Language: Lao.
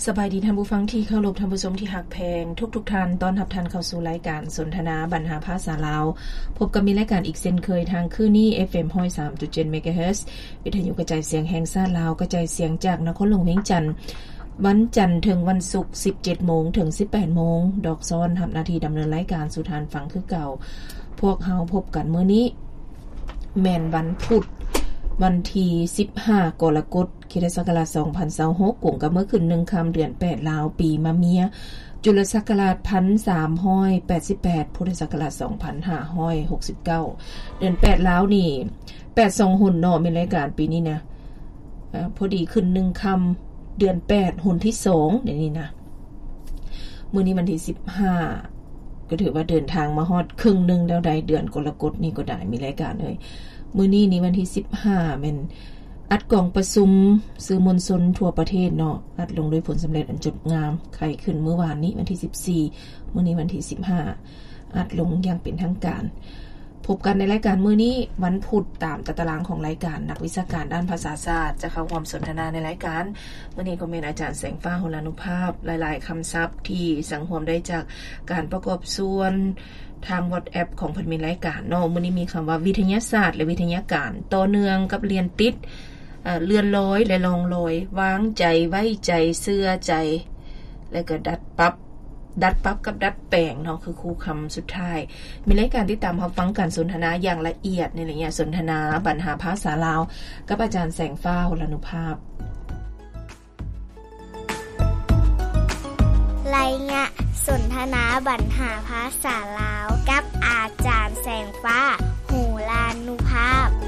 ສະບາຍດີທ່ານຜູ້ຟັງທີ່ເຄົາລົບ, ທ່ານຜູ້ຊົມທີ່ຮັກແພງທຸກໆທ່ານ, ຕ້ອນຮັບທ່ານເຂົ້າສູ່ລາຍການສົນທະນາບັນຫາພາສາລາວ. ພົບກັບມີລາຍການອີກເຊັ່ນເຄີຍທາງຄືນນີ້ ເອັຟເອັມຮ້ອຍສາມຈຸດເຈັດ ເມກາເຮີດ, ວິທະຍຸກະຈາຍສຽງແຫ່ງຊາດລາວ, ກະຈາຍສຽງຈາກນະຄອນຫຼວງວຽງຈັນ, ວັນຈັນເຖິງວັນສຸກ ສິບເຈັດໂມງເຖິງສິບແປດໂມງ. ດອກຊ້ອນຮັບໜ້າທີ່ດຳເນີນລາຍການສູ່ທ່ານຟັງຄືເກົ່າ. ພວກເຮົາພົບກັນມື້ນີ້ ແມ່ນວັນພຸດ ວັນທີສິບຫ້າ ກໍລະກົດ ຄຣິສຕະສັກກະລາດສອງພັນຊາວຫົກ ກົງກັບມື້ຂຶ້ນໜຶ່ງຄ່ຳ ເດືອນແປດລາວ ປີມະເມຍ ຈຸລະສັກກະລາດໜຶ່ງພັນສາມຮ້ອຍແປດສິບແປດ ພຸດທະສັກກະລາດສອງພັນຫ້າຮ້ອຍຫົກສິບເກົ້າ. ເດືອນແປດລາວນີ້ ແປດສອງຫົນເນາະ ແມ່ນລາຍການປີນີ້ນະ ເອີ ພໍດີຂຶ້ນໜຶ່ງຄ່ຳ ເດືອນແປດຫົນທີສອງ ດຽວນີ້ນະ. ມື້ນີ້ວັນທີສິບຫ້າ ກໍຖືວ່າເດີນທາງມາຮອດເຄິ່ງໜຶ່ງແລ້ວໃດ໋ ເດືອນກໍລະກົດນີ້ກໍໄດ້ ມີລາຍການເອີຍ. ມື້ນີ້ນີ້ວັນທີສິບຫ້າ ແມ່ນອັດກອງປະຊຸມສື່ມວນຊົນທົ່ວປະເທດເນາະ ອັດລົງດ້ວຍຜົນສຳເລັດອັນຈົບງາມ ໄຂຂຶ້ນມື້ວານນີ້ວັນທີສິບສີ່ ມື້ນີ້ວັນທີສິບຫ້າ ອັດລົງຢ່າງເປັນທາງການ. ພົບກັນໃນລາຍການມື້ນີ້ ວັນພຸດ ຕາມຕາຕະລາງຂອງລາຍການ, ນັກວິຊາການດ້ານພາສາສາດຈະເຂົ້າຮ່ວມສົນທະນາໃນລາຍການ. ມື້ນີ້ກໍແມ່ນອາຈານແສງຟ້າ ໂຫລານຸພາບ, ຫຼາຍໆຄຳສັບທີ່ສັງຮວມໄດ້ຈາກການປະກອບສ່ວນທາງວັອດແອັບຂອງເພິ່ນມີລາຍການເນາະ. ມື້ນີ້ມີຄຳວ່າ ວິທະຍາສາດ ແລະ ວິທະຍາການ, ຕໍ່ເນື່ອງກັບລຽນຕິດ, ເອີ ເລື່ອນລອຍ ແລະ ລ່ອງລອຍ, ວາງໃຈ, ໄວ້ໃຈ, ເຊື່ອໃຈ ແລະ ກໍດັດປັບ ດັດປັບກັບດັດແປງເນາະ ຄືຄູ່ຄຳສຸດທ້າຍ. ມີລາຍການຕິດຕາມຮັບຟັງການສົນທະນາຢ່າງລະອຽດໃນໄລຍະສົນທະນາບັນຫາພາສາລາວ ກັບອາຈານແສງຟ້າ ໂຫລານຸພາບ. ໄລຍະສົນທະນາບັນຫາພາສາລາວ ກັບອາຈານແສງຟ້າ ໂຫລານຸພາບ.